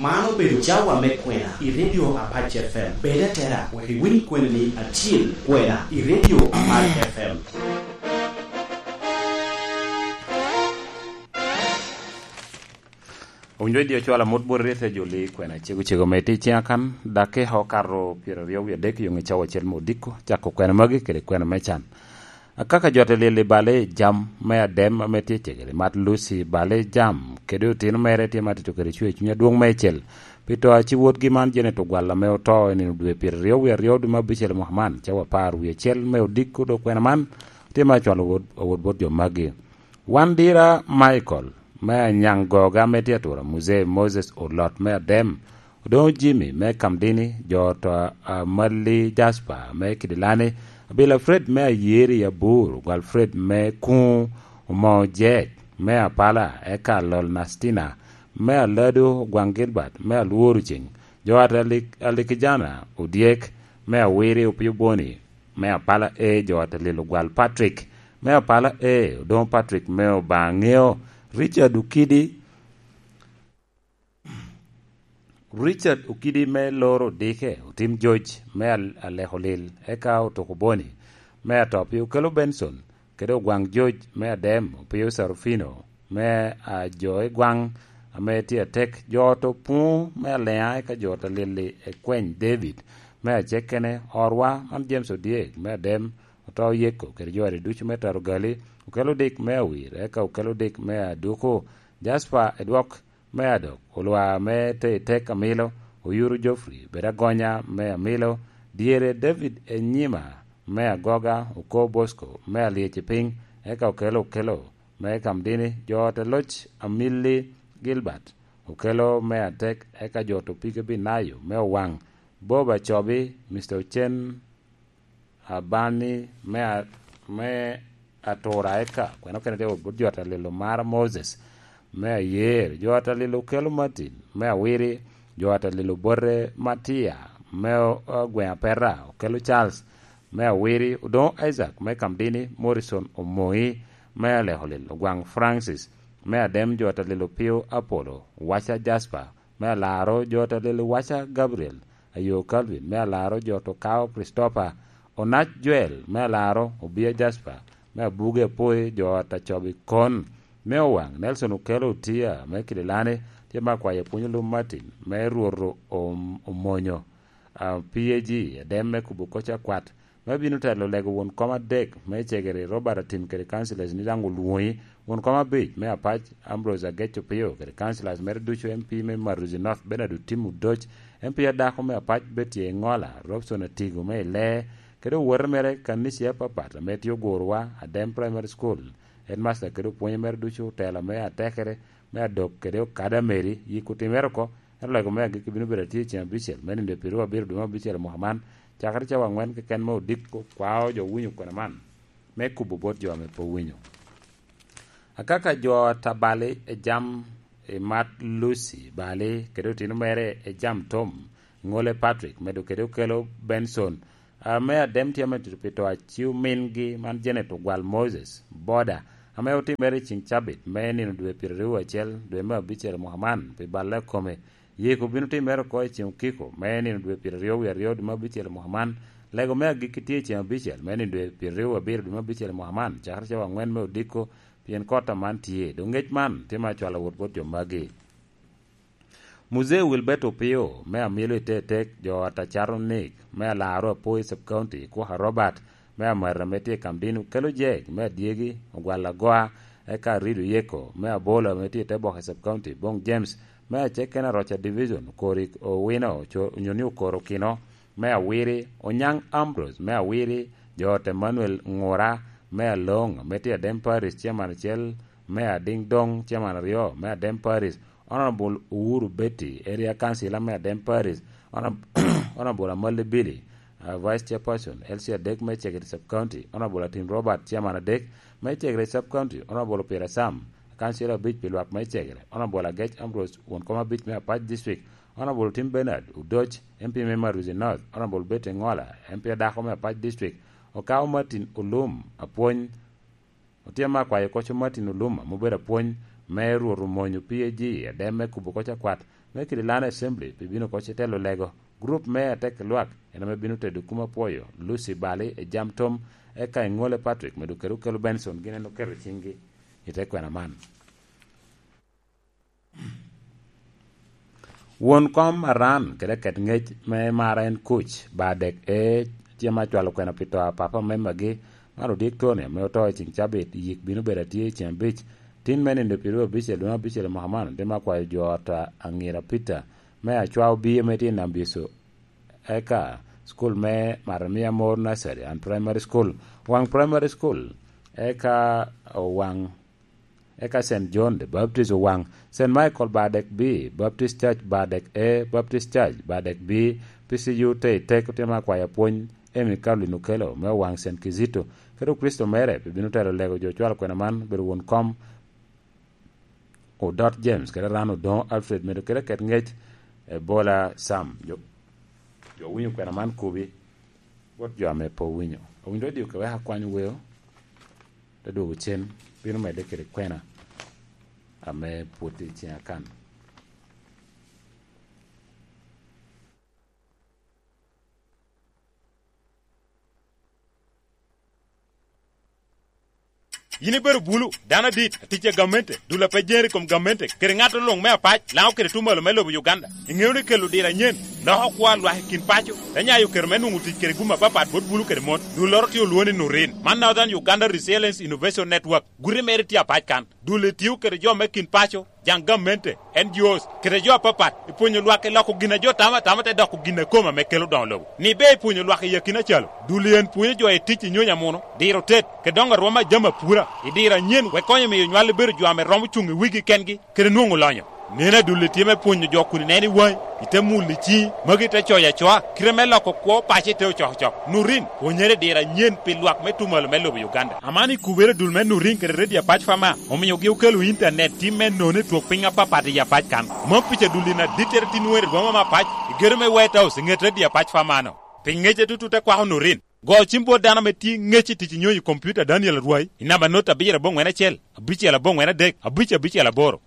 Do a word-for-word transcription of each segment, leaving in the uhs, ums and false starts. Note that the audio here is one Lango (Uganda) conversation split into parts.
Man obedo cawa me kwena i Radio Apac F M. Bed atera, wek iwiny kweni ni atyel kwena i Radio Apac F M. Owinjo i dye ocwalo amut bot ryete joli kwena cego cego me tic ciŋ akan, dakika okato pyeraryo wie adek yo ŋe cawa acel me odiko, cako kwena magi kede kwena me can. Akaka jo ate lil i bale i jam me Adem ame tye cegere, mat Lucy bale i jam, kede otino mere tye ma tito kede cwer cuny adwoŋ meicel. Pi to a ci wotgi man Janet Ogwal ame oto i nino dwe pyeraryo wie aryo dwe me abicel mwaka man, cawa apar wie acel me odiko dok kwena man, tye ma acwalo awot, awot bot jo magi. Wan dira Michael me Anyaŋ Goga me tye atura, Muzee Moses Olot me Adem, Odoŋo Jimmy me Kamdini, jo to a Mali Jasper me Kidilani, Abila Fred me Ayeri Abur, Ogwal Fred me Kuŋ, Omoo Jek me Apala, eka Lol Nastina me Alado, Ogwaŋ Gilbert me Alworo Ceŋ, jo at Alik-, Alikijana Odyek me Awiri, Opio Boni me Apala A, jo at Alil Ogwal Patrick me Apala A, Odoŋo Patrick me Obaŋeo, Richard Okidi, Richard Okidi me Loro Dike, Otim George me Al-, Aleko Lil, eka Otoko Boni me Atopi, Okelo Benson, kede Ogwaŋ George me Adem, Opio Sarufino me, a, jo i Gwaŋ ame tye atek, jo to Puŋo me Aleŋa, eka jo to Lili Ekweny David me Acekkene, Orwa man James Odyek me Adem, Oto Yeko, kede jo adi ducu me Taro Gali, Okelo Dik me Awir, eka Okelo Dik me Aduku, Jasper Edwok me Adok, Olwa me Te-, Tek Amilo, Oyuru Geoffrey, Bed Agonya me Amilo, Dyere David Enyima me Agoga, Oko Bosco me Alyec i Piny, eka Okelo Okelo me Kamdini, jo ot Eloc Amili Gilbert, Okelo me Atek, eka jo ot Opige Binayo me Owaŋ, Bob Acobi, Mister Ocen, Abani me a-, me Atura, eka kwena okene tye wot bot jo ot Alilo Mara Moses me Ayer, jo ot Alilo Okelo Martin me Awiri, jo ot Alilo Bote Matia me o-, Ogweŋ Apeta, Okelo Charles me Awiri, Odoŋo Isaac me Kamdini, Morrison Omoŋi me Alekolil, Ogwaŋ Francis me Adem, jo ot Alilo Pio Apolo, Waca Jasper me Alaro, jo ot Alilo Waca Gabriel, Ayo Calvin me Alaro, jo ot Okao Christopher, Onac Joel me Alaro, Obia Jasper me Abuge Apoi, jo ot Acobi Kon me Owaŋ, Nelson Okelo Otia me Kidilani, tye me akwayo Pwony Olum Martin me Rwoto Om-, Omonyo, a, P A G, Adem me Kubo Koc Akwat, me bino telo lego won kom adek me cegere Robert Atim kede councillors ni daŋ olwoŋi, won kom abic me Apac Ambrose Agec Opio kede councillors mere ducu, M P me Maruzi North Bernard Otim Odoc, M P adako me Apac Betty Engola, Robson Atigo me Ilee, kede owote mere kanici apapat ame tye ogurowa, Adem Primary School, headmaster kede opwonye mere ducu, otela me atekere me Adok kede Okada Mary, yik otimere oko, ento lego me agikki bino bedo atye i ceŋ abicel me nino dwe pyeraryo abiro dwe me abicel i mwaka man, cakere cawa aŋwen keken me odiko kwao jo winyo kwena man me kubo bot jo ame pe owinyo. Akaka jo a Tabali Ejam, Imat Lucy Bali, kede otino mere Ejam Tom, Ŋole Patrick, medo kede Okelo Benson, ame Adem tye ame tutu pi to a ci omingi man Janet Ogwal Moses, Boda, ame otimere i ceŋ cabit me nino dwe pyeraryo acel dwe me abicel i mwaka man pi balle kome. Yiko bino timere oko i ceŋ okiko me nino dwe pyeraryo wie aryo dwe me abicel i mwaka man. Lego me agikki tye i ceŋ abicel me nino dwe pyeraryo abiro dwe me abicel i mwaka man, cakere cawa aŋwen me odiko, pien kot aman tye. Doŋ ŋec man tye me acwalo wot bot jo magi. Muzee Wilbert Opio me Amilo i Tetek, jo ot Acato Nick me Alaro Apoi Sub County, Kwaka Robert me Amata ame tye i Kamdini, Okelo Jek me Adyegi, Ogwal Agoa, eka Arido Yeko me Abola ame tye i Teboka Sub County, Bong James me Aceken Aroca Division, Korik Owino, co-, onyo ni Okoro Okino me Awiri, Onyaŋ Ambrose me Awiri, jo ot Emmanuel Ŋura me Aloŋ ame tye i Adem Parish, Chairman acel me Adiŋ Doŋ, Chairman aryo me Adem Parish, Honorable Uhuru Betty, Area Councillor me Adem Parish, Honor-, Honorable Amali Billy, uh, Vice Chairperson, L C adek me Executive Sub County, Honorable Atim Robert, Chairman adek me Executive Sub County, Honorable Peter Sam, Councillor abic pi lwak me Executive, Honorable Agec Ambrose, won kom abic me Apac District, Honorable Tim Bernard Udoc, M P me Maruzi North, Honorable Betty Ngola, M P adako me Apac District, Okao Martin Olum, apwony, Otyeno akwayo koco Martin Olum, ame obedo apwony, me Rwot omony opii eji, adem me kubo oko cakwat me Kililani Assembly pi bino oko citelo lego. Gurup me Atek Lwak en ame bino tedo kum apwoyo, Lucy Bali, Ejam Tom, eka Eŋole Patrick, medo kede Okelo Benson, gin en oketo ciŋgi i te kwena man. Won kom Aran kede ket ŋec me mara en kuc, ba dek e tye ma cwalo kwena pi to a papa me magi, man odik Tony ame oto i ciŋ cabit, yik bino bedo atye i ciŋ abic, tin me nindo pyeraryo abicel dwe me abicel i mwaka man, tye ma kwayo jo ot a Aŋira Peter me Acwa Obii ame tye i Nambiso, eka school me Maramia Mor Nursery and Primary School, Owaŋ Primary School, eka Owaŋ eka Saint John the Baptist Owaŋ, Saint Michael Badek B, Baptist Church Badek A, Baptist Church Badek B, P C U Teitek, otye ma kwayo apwony Amy Caroline Okello me Owaŋ Saint Kizito, kede Okristo mere pe bino telo lego jo cwalo kwena man, bedo won kom Odot James, kede Aran Odoŋo Alfred, medo kede ket ŋec Ebola Sam. Jo, jo winyo kwena man kubi bot jo ame pe owinyo. Owinyo radio ka wek akwany weo, te dwogo cen, bino medde kede kwena ame pwod tye i ciŋa kan. Yin ibedo bulu, dano adit, atic a gamente, dul a pe jere i kom gamente, kede ŋat luŋ me apac, Laŋo kede Tumalo me lobo Uganda. Iŋeo ni kelo diro anyen loko kwo a lwak i kin paco, te nyayo kero me nwoŋo tic kede gum apapat bot bulu kede mon. Dulloro tye olwoŋo ni Nurin. Man Northern Uganda Resilience Innovation Network. Guti mere tye apac kan. Dul etio kede jo me kin paco, jaŋ gamente, N G Os, kede jo apapat, i pwonyo lwak i loko gin a jo tamo atama te doko gin a kome ame kelo doŋo lobo. Ni be i pwonyo lwak i akina calo, dul en pwonyo jo i tic i nyonyo amuno, diro tet, kede doŋo arwom a jami apura, i diro anyen, wek konyo miyo nywal ibedo jo ame romo cuŋ i wigi kengi, kede nwoŋo lonyo. Neno adul tye me pwonyo jo kun ineno i waŋi, ite mulo i ciŋi, magi te coyo acoa, kite me loko kwo paco ite ocokocok. Nurin, pwonyere i diro anyen pi lwak me Tumalo me lobo Uganda. Aman ikubere dul me Nurin kede Radio Apac Fama, omiogi okelo intanet tim me nono i twok piny apapat i Apac kan. Mom pica dul in adittere tin weri rwoma me apac, i gedo me White House i ŋet Radio Apac Fama-no. Pi ŋece tutu te kwako Nurin. Go cim bot dano ame tye ŋec i tic i nyonyo i kompiuta Daniel Arwai, i namba not abiro aboŋwen acel, abicel aboŋwen adek, abic abicel aboro.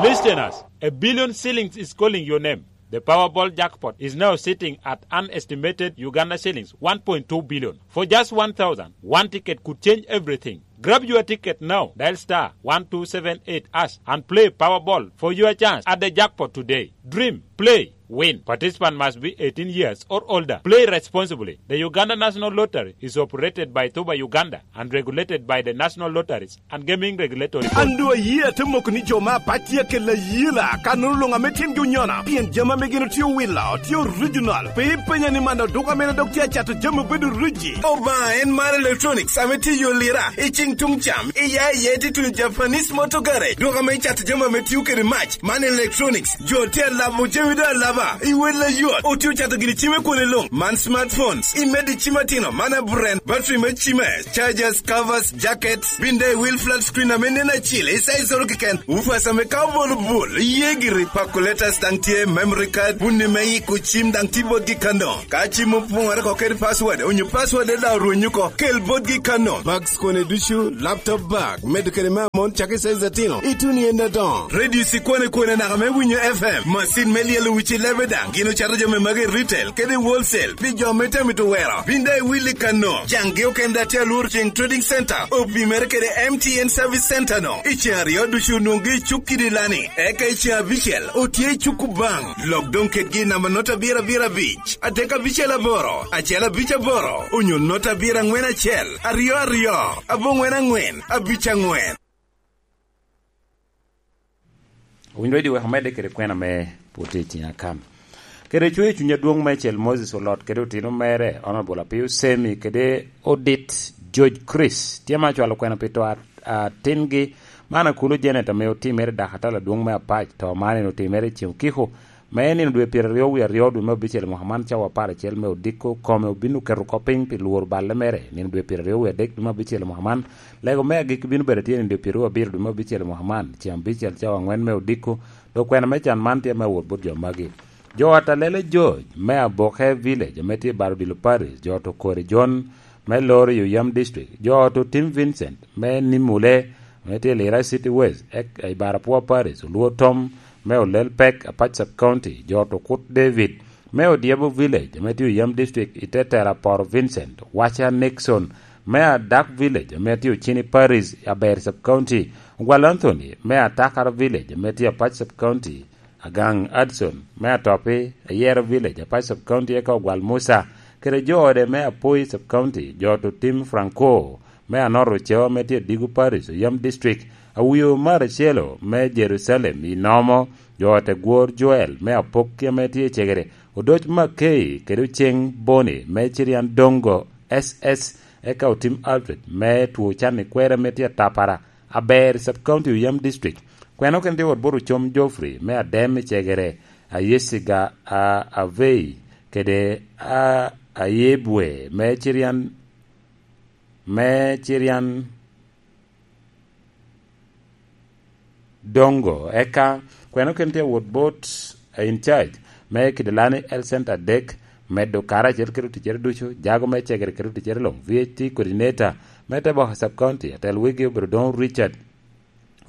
Listeners, a billion shillings is calling your name. The Powerball jackpot is now sitting at an estimated Uganda shillings one point two billion. For just one thousand, one ticket could change everything. Grab your ticket now. Dial star one two seven eight hash and play Powerball for your chance at the jackpot today. Dream, play, win. Participant must be eighteen years or older. Play responsibly. The Uganda National Lottery is operated by Tuba Uganda and regulated by the National Lotteries and Gaming Regulatory Board. An doŋ ayie ate moko ni jo me apac tye akelo ayela, ka nono luŋ ame tyengi onyono, pien jami ame gin otye owilo tye original. Pe ipenya ni man oduka mene dok tye acato jami obedo riji. Obaŋa en mar electronics ame tye i yo lira, i ciŋ tuŋ cam, i ya i ya tye tuŋ Japanese Motor Garage. Duka ame icato jami ame tio kede mac, man electronics. Jo tye alabo jami doŋ alaba, i wel ayot. Otye ocato gini cime kwone luŋ, man smartphones, i medi cim atino, man a brand, battery me cime, chargers, covers, jackets, bin daŋ i wil flat screen ame nen acil, i size oro keken. Ufas ame ka obolo bul, iye giri. Calculators daŋ tye, memory card, bunni me yiko cim daŋ tye botgi kano. Ka cim opoŋore oko kede password, onyo password daŋ orwenyo oko, kel botgi kano. Bags kone ducu, laptop bag, medo kede me amon cakki size atino, ituno i en adoŋo. Radio cikwane kwane naka me winyo F M, macin me lyelo wic i lebe daŋ, gin ocato jami magi i retail kede i wholesale, pi jo me tamito wero. Bin daŋ iwil i kano, caŋgi okende daŋ tye alworo ceŋ Trading Center, opimere kede M T N Service Center no. I ceŋ aryo ducu onwoŋgi i cuk kidi lani, eka i ceŋ abicel otye i cuk Kubaŋ. Lok doŋ kedgi i namba not abiro abiro abic, adek abicel aboro, acel abic aboro, onyo not abiro aŋwen acel, aryo aryo, aboŋwen aŋwen, abic aŋwen. Owinyo Radio wek omedde kede kwena me pwod tye i ciŋa kan. Kede coyo cuny adwoŋ meicel Moses Olot kede otino mere, Honorable Apio Semi kede Odit George Chris, tye ma cwalo kwena pi to a-, atingi, man Akulu Janet ame otimere i dakatala adwoŋ me apac, to man en otimere i ceŋ okiko, me nino dwe pyeraryo wie aryo dwe me abicel mwaka man cawa apar acel me odiko, kome obin oketo oko piny pi lworo balle mere. Nino dwe pyeraryo wie adek dwe me abicel mwaka man, lego me agikki bino bedo tye nino dwe pyeraryo abiro dwe me abicel mwaka man, ceŋ abicel cawa aŋwen me odiko, dok kwena me can man tye me awot bot jo magi. Jo ot a Lele George me Aboke Village ame tye i Baro Dilo Parish, jo ot Okori John me Loro i Oyam District, jo ot Otim Vincent me Nimule, me tye i Lira City West, ek-, i Barapua Parish, Oluo Tom, me Olel Pek, Apac Sub County, Jot Okut David, me Odiebo Village, ame tye Oyam District, i Tetera Poro Vincent, Wacha Nixon, me Adak Village, ame tye Ocini Parish, Aber Sub County, Ogwal Anthony, me Atakara Village, ame tye Apac Sub County, Agang Adson, me Atopi, Ayero Village, Apac Sub County, eka Ogwal Musa, kede jo ode me Apoi Sub County, Jot Otim Franco, me Anoro Ceo, ame tye Digo Parish, Oyam District, Awio Maracelo, me Jerucalem, i Nomo, jo ot Egwor Joel, me Apokki, ame tye i Cegere, Odoc Makei, kede Oceng Boni, me Cirian Dongo, S S, eka Otim Alfred, me Two Can i Kwera, ame tye Atapara, Aber Sub County, Oyam District, Kweno kene tye wot bot Ocom Geoffrey, me Adem i Cegere, Ayesiga, a, Avei, kede, a, Ayebwe, me Cirian, me Cirian Dongo, eka Kweno kene tye wot bot, a, in charge, me Kidilani Health Center adek, medo kare acel kede oticcere ducu, jago me Cegere kede oticcere luŋ, V H T coordinator, me Teboka Sub County, atel wigi obedo Doŋ Richard,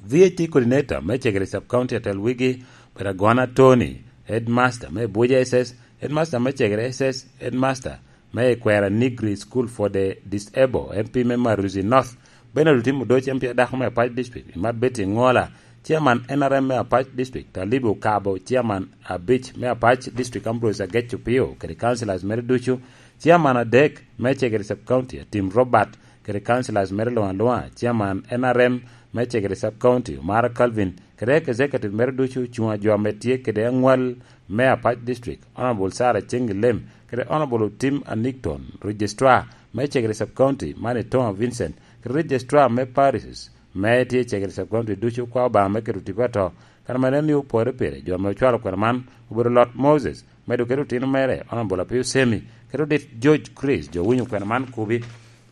V H T coordinator me Cegere Sub County atel wigi, Baragona Tony, headmaster me Abuja S S, headmaster me Cegere S S, headmaster me Ikwera Negri School for the Disabled, M P me Maruzi North, Bernard Otim Odoc, M P adako me Apac District, Imat Betty Ngola, chairman N R M me Apac District, Talib Okabo, chairman abic me Apac District, Ambrose Agec Opio, kede councillors mere ducu, chairman adek me Cegere Sub County, Atim Robert, kede councillors mere luŋ aluŋa, chairman N R M me Cegere Sub County, Omara Calvin, kede executive mere ducu, cuŋ a jo ame tye kede aŋwal me Apac District, Honorable Sarah Cengilem, kede Honorable Otim Anigton, Registrar me Cegere Sub County, Mani Toma Vincent, kede Registrar me Parishes, me tye i Cegere Sub County ducu, kwao Obaŋa me keto tipo ato, kare ame nen ni opore pire, jo ame ocwalo kwena man obedo Lot Moses, medo kede otino mere, Honorable Apio Semi, kede odit George Chris, jo winyo kwena man kubi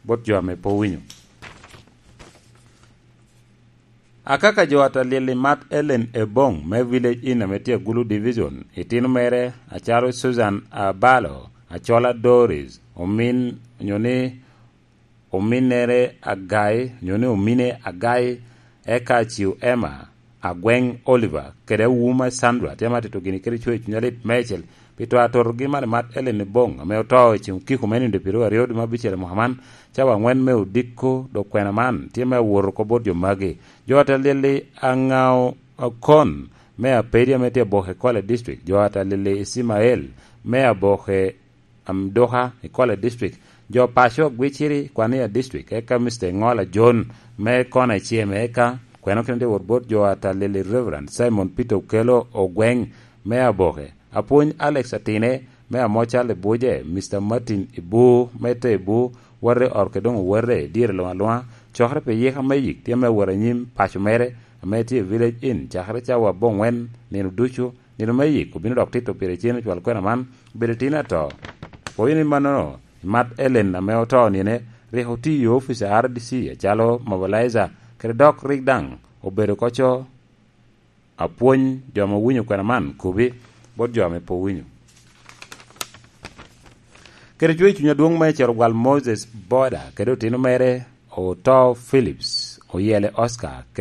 bot jo ame pe owinyo. Akaka jo ata lyel i Mat Ellen Ebong me Village Inn ame tye Agulu Division, itino mere acalo Susan Abalo, Acola Doris, omin, onyo ni ominnere Agai, onyo ni omine Agai, eka Aciu Emma, Agweng Oliver, kede Awuma Sandra, tye ma tito gini kede cwer cuny alit meicel, pi to atotogi man i Mat Ellen Ebong, ame oto i ceng okiko me nindo pyeraryo aryo dwe me abicel i mwaka man, cawa aŋwen me odiko, dok kwena man tye me awot oko bot jo magi. Jo ata lyel i Aŋao Okon, me Apedi ame tye Aboke Kwale District, jo ata lyel i Ismael, me Aboke Amduka i Kwale District, jo paco Gwiciri Kwania District, eka Mister Ŋola John me Kona Icem, eka kweno kene tye wot bot jo ata lyel i Reverend Simon Peter Okello Ogweng me Aboke, Apwony Alex Atine me Amocal i Buje, Mister Martin Ibu me Te Ibu, wate ot ke doŋ owate i dyere luŋ aluŋa, cokere pi yika me yik tye me wot anyim paco mere, ame tye i Village Inn, cakere cawa aboŋwen nino ducu, nino me yik obino dok tito pire cen ocwal kwena man, obedo tin ato. Pwoyo ni mannono, i Mat Ellen ame oto nine, rik otiyo i opic a R D C acalo mobilizer, kede dok rik daŋ obedo koco apwony jo ame owinyo kwena man kubi bot jo ame pe owinyo. Kede cwer cuny adwoŋ me Cerogwal Moses Boda kede otino mere Oto Phillips, Oyele Oscar, kede